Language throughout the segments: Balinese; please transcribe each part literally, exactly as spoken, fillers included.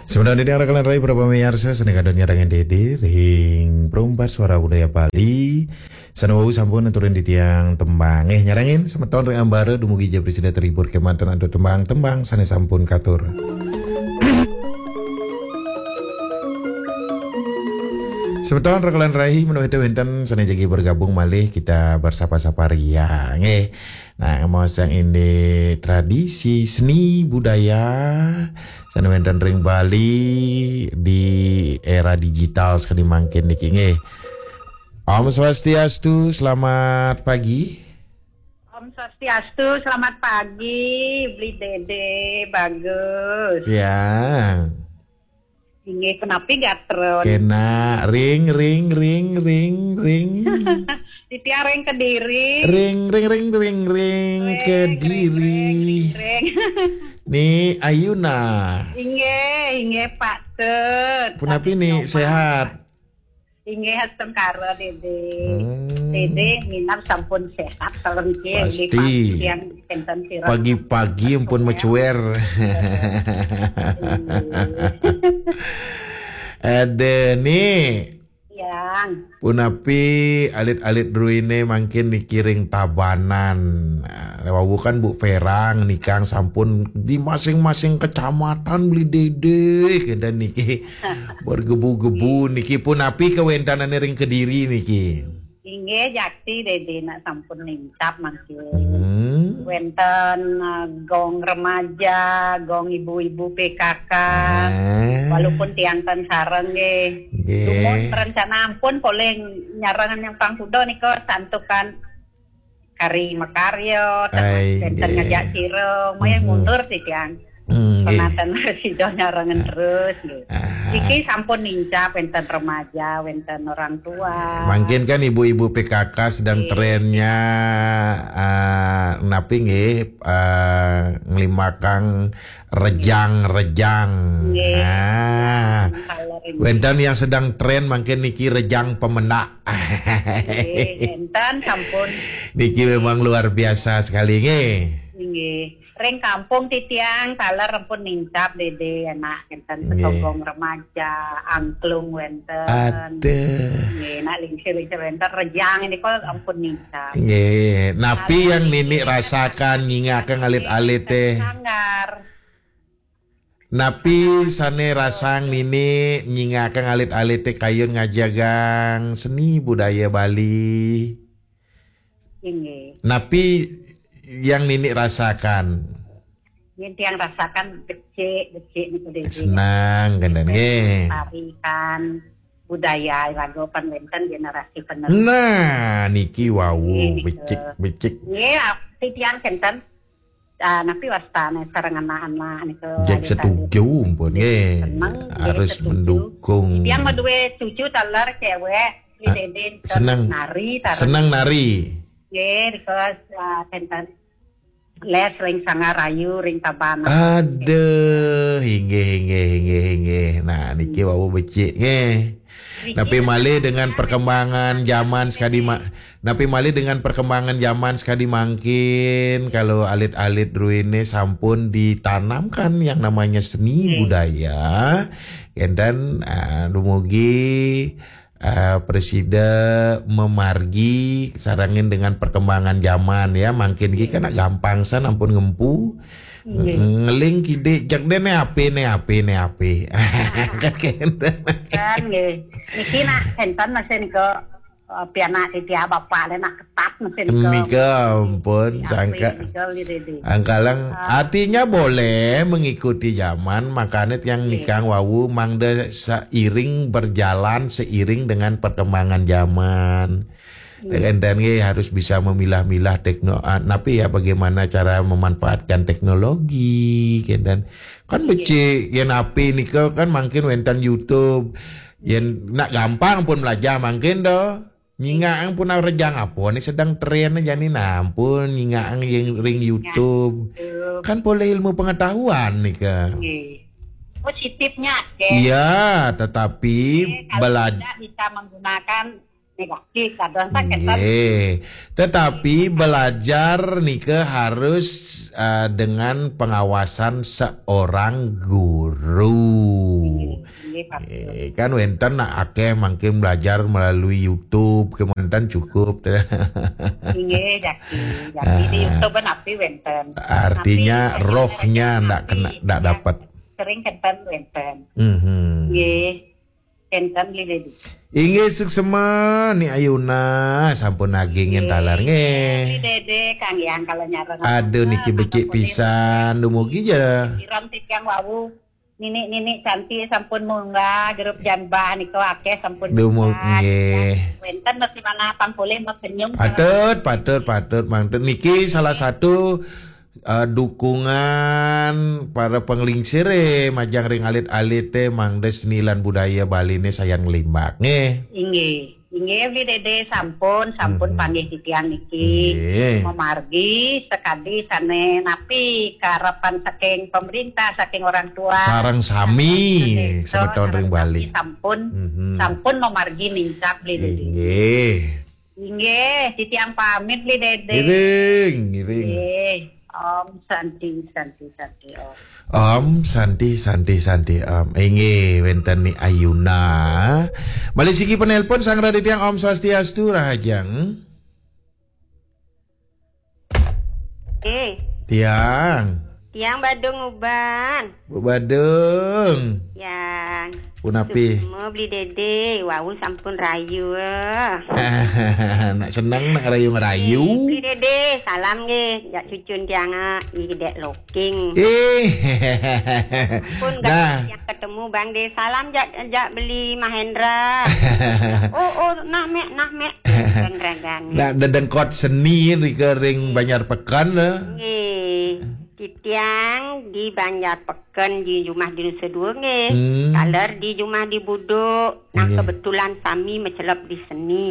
Sebenarnya dia rekan rai berapa meyarsa, seni kadon nyarang Dede ring Perumpat Suara Budaya Bali. Sana wau sampun aturin titiang tembang. Eh, nyarangin semeton ring ambara dumugi ja prasida terhibur kemanten antuk tembang-tembang sane sampun katur. Semeton rekan rai, menawi wenten sane jagi bergabung malih, kita bersapa-sapa ria. Nggih. Nah, maos yang ini tradisi seni budaya sane wenten ring Bali di era digital sekali mangkin niki nggih. Om Swastiastu, selamat pagi. Om Swastiastu, selamat pagi, Beli Dede, bagus. Ya. Inggih, punapi gatra? Kena, ring, ring, ring, ring, ring. Titiang ring Kediri. Ring, ring, ring, ring, ring, ring, Kediri. Ring, ring, ring, ring. Ni Ayuna. Inggih, inggih, Pak Tut. Punapi ni, sehat? Inggih, astungkara, Dede. Hmm. Dede, minab sampun sehat, kalau niki, inggih, pasti. Pagi yang enten sira. Pagi-pagi ampun mecuer. Ada ni. Yang. Punapi alit-alit druine mangkin niki ring Tabanan. Nah, wau kan Bu Perang nikang sampun di masing-masing kecamatan Beli Dede, kenten niki. Bergebu-gebu niki, punapi kawentenane ring Kediri niki? Inggih, jakti Dede nak sampun nincap mangkin. Hmm. Wenten, eh, gong remaja, gong ibu-ibu P K K. Ah. Walaupun tiang ten sareng nggih. Nggih. Dumun rencana ampun polih nyareng yang pangkuda nika santukan kari makarya, wenten ngajak sira, maya mundur titiang. Hmm, nggih. Penaten sida nyarengan terus, nggih. Iki sampun nincap, wenten remaja, wenten orang tua. Mungkin kan ibu-ibu P K K sedang trennya, ah, napi nggih, ah, nglimbakang rejang-rejang. Nggih. Nah, wenten yang sedang tren mungkin niki rejang pemendak. Nggih, wenten sampun. Niki memang luar biasa sekali nggih. Nggih. Ring kampung titiang taler ampun nincap Dede anak enten. Nggih. Sogong remaja, angklung wenten. Aduh. Nggih, nak lingsir-lingsir wenten, rejang ini kok ampun nincap. Nggih, napi yang nini rasakan nyingakang alit-alite? Sanggar. Napi sane rasang nini nyingakang alit-alite kayun ngajegang seni budaya Bali? Inggih. Napi yang nini rasakan? Yen tiang rasakan becik, becik niku, Dede. Senang kenten nggih. Tarikan budaya lagu pan wenten generasi penerus. Nah, niki wau. Nggih, becik, becik. Nggih, ati tiang kenten, ah, napi wastane sareng anak-anak niku. Jek setuju pun nggih. Seneng, nggih, harus setuju. Mendukung. Tiang maduwe cucu taler cewek, Dede seneng nari, taler. Seneng nari. Nggih, nika, ah, kenten les ring Sangarayu, ring Tabanan. Aduh, inggih, inggih, inggih, inggih. Nah, niki wau becik nggih. Napi malih dengan perkembangan zaman sekadi ma-, napi malih dengan perkembangan zaman sekadi mangkin, kalau alit-alit druene sampun ditanamkan yang namanya seni budaya, kenten, ah, dumugi, ah, prasida mamargi sarengin dengan perkembangan zaman ya, mangkin ki kan gampang san ampun ngempu. Nggih. Ngeling kidik jak dene ape, ne ape, ne ape. Kan kenten. Kan nggih. Niki nak enten masih nika, eh, pianak titiang bapak le nak ketat masih nika. Nika ampun, sangka. Angkalang, artinya boleh mengikuti zaman, makanya tiang nikang wau mangda seiring berjalan seiring dengan perkembangan zaman. Kenten nggih harus bisa memilah-milah tekno-, ah, napi ya, bagaimana cara memanfaatkan teknologi, kenten. Kan becik, yen ape nika kan mangkin wenten YouTube. Yen nak gampang pun belajar mangkin do. Nyingakang pun rejang apa ni sedang tren jani, nah, ampun, nyingakang yang ring YouTube. Kan poleh ilmu pengetahuan nika. Nggih. Positifnya akeh. Iya, tetapi kalau belaj- tidak bisa menggunakan Negatif, kadang sakit kan. Nggih. Tetapi belajar nika harus, eh, dengan pengawasan seorang guru. Nggih, nggih, Pak. Eh, kan wenten nak akeh mangkin belajar melalui YouTube, kemanten cukup. Nggih, jaki. Jaki di Ah. YouTube napi wenten. Artinya Napi, rohnya napi, ndak kena, napi, ndak ya, dapat. Sering kenten wenten. Mhm. Nggih. Kenten, Bli Dede. Inggih, suksema, Ni Ayuna, sampun nagingin Nggih. Taler, nggih. Bli Dede, Kang Yang, kalau nyareng Aduh, niki apa, becik apa boleh pisan, dumugi ja. Siram titiang wau. Nini-nini cantik sampun munggah, grup Janbah nika akeh sampun Dumug-, munggah. Nggih. Wenten mesti mana pang boleh mau senyum. Patut, patut, patut, mangten. Niki salah satu, eh, dukungan para penglingsir, eh, majang ring alit-alit, eh, mangda seni lan budaya Bali ni sayan nglimbak, nggih. Inggih. Inggih, Bli Dede, sampun, sampun Mhm. panggih titiang niki. Nggih. Memargi sekadi sane napi karepan saking pemerintah, saking orang tua. Sareng sami, Saking semeton sareng ring sami Bali. Sampun, Mhm. sampun memargi nincap, Bli Dede. Inggih. Inggih, titiang pamit, Bli Dede. Ngiring, ngiring. Nggih. Om Santi, Santi, Santi, Om. Om Santi, Santi, Santi, Om. Inggih, wenten Ni Ayuna. Malih siki penelpon sang raditya, Om Swastiastu, Rahajeng. Eh. Tiang. Tiang Badung Uban. Bu Badung. Yang. Punapi? Suksma, Bli Dede, wau sampun rayu. Nak seneng nak rayu-rayu. Eh, Bli Dede, salam nggih, jak cucun tiang, ah, Ni Dek Loking. Eh. Pun Nah. Yang ketemu Bang De, salam jak, jak Beli Mahendra. Oh, oh, nah, Mek, nah, Mek. Kan ragan. Nak dedengkot seni nika ring Banjar Peken, eh. Nggih. Titiang di Banjar Peken di jumah di Nusa Dua nggih. Hmm. Taler di jumah di Buduk. Nah, Nggih. Kebetulan sami mecelep di seni.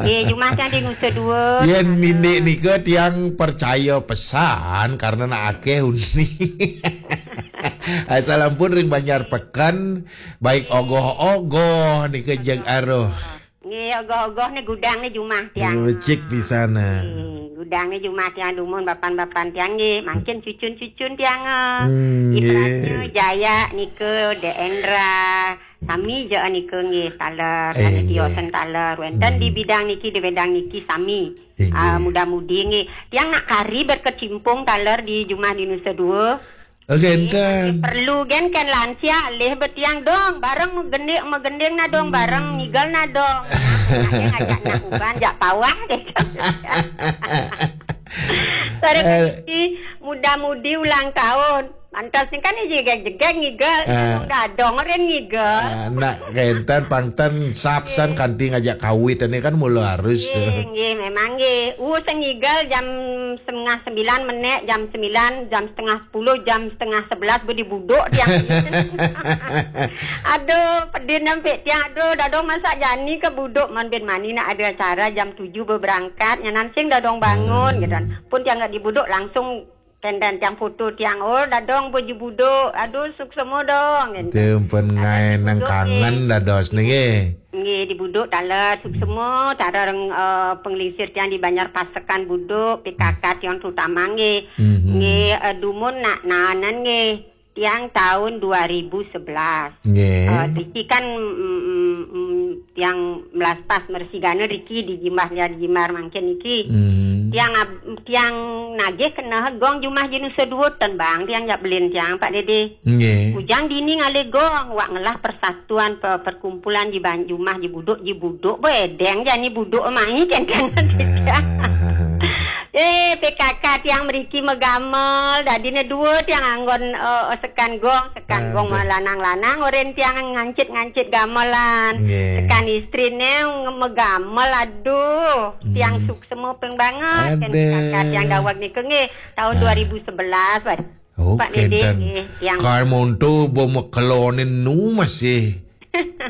Nggih, jumah tiang di Nusa Dua. Yen Taler. Nindik nika tiang percaya pesan karena nak akeh uni. Asal ampun ring Banjar Peken, baik ogoh-ogoh nika jeg aruh. Nggih, ogoh-ogoh ni gudang ni jumah tiang. Becik pisan, ah. Nggih, gudang ni jumah tiang dumun bapan-bapan tiang nggih. Mangkin cucun-cucun tiang, ah. Hmm, Ibaratnya nggih. Jaya nika, De Endra, sami je nika nggih, taler, Eh, sami nggih. Tiosen taler. Wenten di Hmm. bidang niki, di bidang niki sami. Eh, Ah, nggih. Muda-mudi nggih. Tiang nak kari berkecimpung taler di jumah di Nusa Dua. Oke, Nggih, enten. Perlu gen kan lansia lih betiang dong, bareng megending, megending na dong, Hmm. Bareng ngigal na dong. Nah, ngajak nak uban, jak pawah deh. Sore Eh. Muda-mudi ulang tahun. Mantas ni kan ni jegeg-jegeg ngigal. Ah. Dadong-dadong ren ngigal. Ah, nak kenten pangten sapsan Nggih. Kanti ngajak kawit ni kan mula harus tu. Nggih, nggih, memang nggih. Uh, sengigal jam setengah sembilan menek, jam sembilan, jam setengah sepuluh, jam setengah sebelas bedi buduk tiang. Aduh, pedih nampik tiang. Aduh, dadong masak jani ke buduk man bin mani nak ada acara jam tujuh berangkat. Nyanan sing dadong bangun, Hmm. Gitu kan. Pun tiang nggak di buduk langsung Kendan tiang foto tiang, oh, dadong baju buduk. Aduh, suksema dong. Gitu. Tiang pun ngai nang kangen dados niki. Nggih, di buduk taler, suksema, taler, eh, penglingsir tiang di Banjar Pasekan buduk, P K K tiang terutama nggih. Mhm. Nggih, eh, dumun nak nanan nggih. Tiang tahun dua ribu sebelas. Nggih. Eh, Riki kan, mm, mm, mm, tiang melaspas mersigana Riki di jimbah, di jimbar mangkin niki. Hmm. Tiang ab-, tiang nagih kena gong jumah jinu seduwut ten bang, tiang jak belin tiang, Pak Dede. Nggih. Ujang dini ngalih gong, wak ngelah persatuan pe-, perkumpulan ji ban-, jumah ji buduk, ji buduk, bo edeng jani buduk mai kenten. Ah. Eh, P K K tiang meriki megamel, dadine dua tiang anggon, eh, sekan gong, sekan gong. Aduh. Lanang-lanang, oren tiang ngancit-ngancit gamelan. Nggih. Sekan istrine nge-, megamel, aduh, tiang suksema peng banget. Kan P K K tiang daweg nika nggih, tahun dua ribu sebelas, Pak. Oh, Pak Dede, kenten. Nggih, tiang. Kan monto bo mekelonin nu masih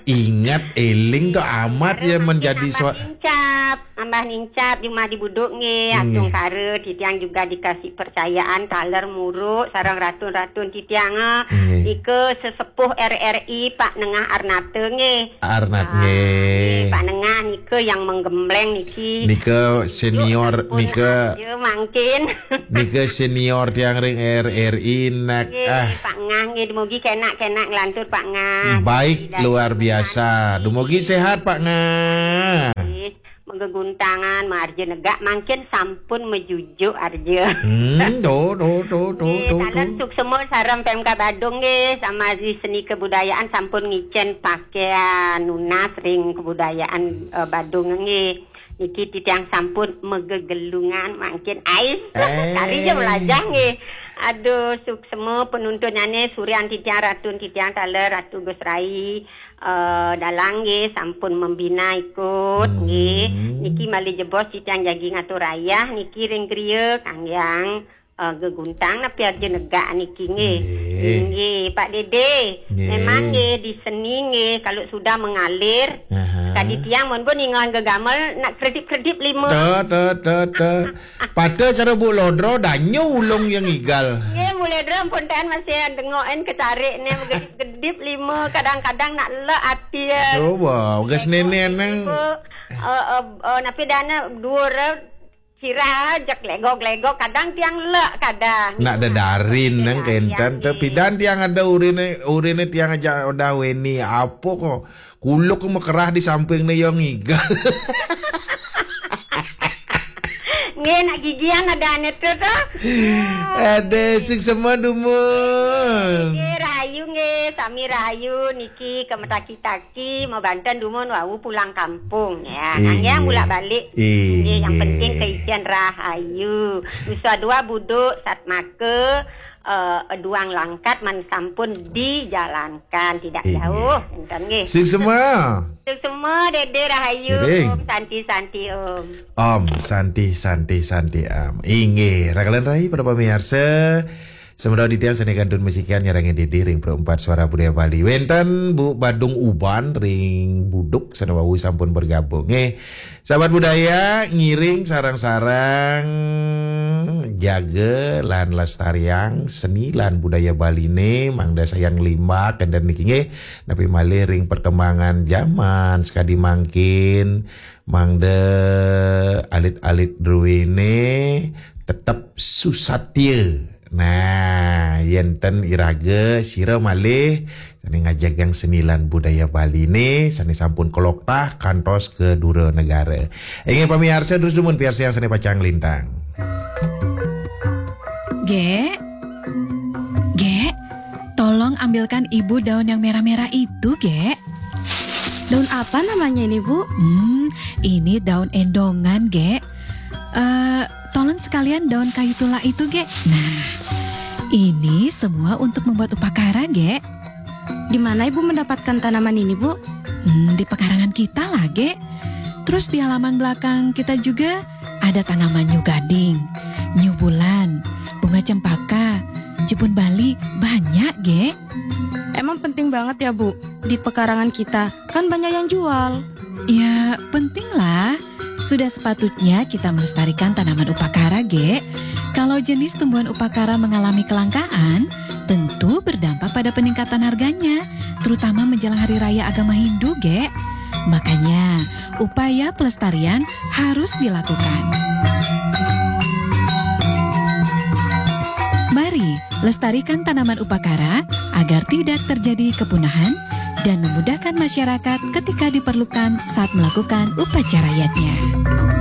ingat, eling tu amat ya menjadi sua- Lincap. Nambah nincap jumah di buduk nggih, nggih. Atungkara titiang juga dikasih percayaan taler muruk sareng ratun-ratun titiang, eh. Nggih. Nika sesepuh R R I Pak Nengah Arnata nggih. Arnat, ah, nggih. Nggih, Pak Nengah nika yang menggembleng niki. Nika senior, sampun nika arja mangkin. Nika senior tiang ring R R I nak, nggih, ah. Pak Ngah nggih, dumugi kenak-kenak nglantur Pak Ngah. Baik, luar biasa. Dumugi sehat Pak Ngah. Nggih. Mangga guntangan, marja negak, mangkin sampun majujuk arja. Hmm, to, to, to, to, nggih, to, taler to. Suksema sareng P M K Badung nggih, sama di seni kebudayaan sampun ngicen pakaian nunas ring kebudayaan, eh, Badung nggih. Niki titiang sampun magegelungan mangkin ais. Eh. Kari ja melajah nggih. Aduh, suksema penuntunane surian titiang ratun titiang taler Ratu Gus Rai. Eh, dalang nggih sampun membina ikut, hmm, nggih. Niki malih jebos titiang jagi ngatur ayah niki ring griya kanggiang, eh, geguntang napi arja negak niki nggih. Nggih. Nggih, Pak Dede. Nggih. Memang nggih di seni nggih kalau sudah mengalir. Aha. Kadi tiang mun pun ningal gegamel nak kredip-kredip lima. Te, te, te, te. Pada cara Bu Lodro, danyu ulung yang igal. Nggih, Bu Lodro pun tahan masih dengokin kecarik ni, gedip-gedip lima, kadang-kadang nak lek ati ya. Coba, bekas nenek nang. Ibu, eh, eh, eh, napi dana dua re-, sirah aja legok-legok, kadang tiang lek kadang. Nak dedarin nang kentan, tapi dan tiang ada urine, urine tiang aja udah weni apa kok. Kuluk mekerah di samping ni yang igal. Nggih, nak gigian ada ane tu tu. Ada sing semua dumun. Nggih, rahayu nggih, sami rahayu niki ke metaki-taki, mau Banten dumun wau pulang kampung ya. Iya. Nanggiang bulak balik. Iya. Nggih, yang penting keisian rahayu. Nusa dua buduk satmaka, eh, duang langkat man sampun dijalankan, tidak jauh. Enten nggih. Sing semua. Sing semua, Dede rahayu. Om Santi Santi Om. Om Santi Santi Santi Om. Inggih, rakalan rahayu para pamiarsa. Semeton titiang sane kantun masikian nyarengin Dede ring Perempat Suara Budaya Bali. Wenten Bu Badung Uban ring Buduk sane wau sampun bergabung. Nggih. Sahabat budaya, ngiring sarang-sarang jaga lan lestariang seni lan budaya Baline, mangda sayan limbak kenten niki nggih, napi malih ring perkembangan zaman sekadi mangkin, mangda alit-alit druene tetep susatya. Nah, yen ten iraga sira malih sane ngajegang seni lan budaya Baline sane sampun kaloktah kantos ka dura negara. Inggih pamiarsa, terus dumun piarsayang sane pacang lintang. Gek, Gek, tolong ambilkan ibu daun yang merah-merah itu, Gek. Daun apa namanya ini, Bu? Hmm, ini daun endongan, Gek. Eh, tolong sekalian daun kayu tulak itu, Gek. Nah, ini semua untuk membuat upakara, Gek. Di mana Ibu mendapatkan tanaman ini, Bu? Hmm, di pekarangan kita lah, Gek. Terus di halaman belakang kita juga ada tanaman new gading, new bulan, bunga cempaka, jebun Bali, banyak, Gek. Emang penting banget ya, Bu, di pekarangan kita? Kan banyak yang jual. Ya, penting lah. Sudah sepatutnya kita melestarikan tanaman upakara, Gek. Kalau jenis tumbuhan upakara mengalami kelangkaan, tentu berdampak pada peningkatan harganya, terutama menjelang hari raya agama Hindu, Gek. Makanya, upaya pelestarian harus dilakukan. Mari, lestarikan tanaman upakara agar tidak terjadi kepunahan dan memudahkan masyarakat ketika diperlukan saat melakukan upacara yadnya.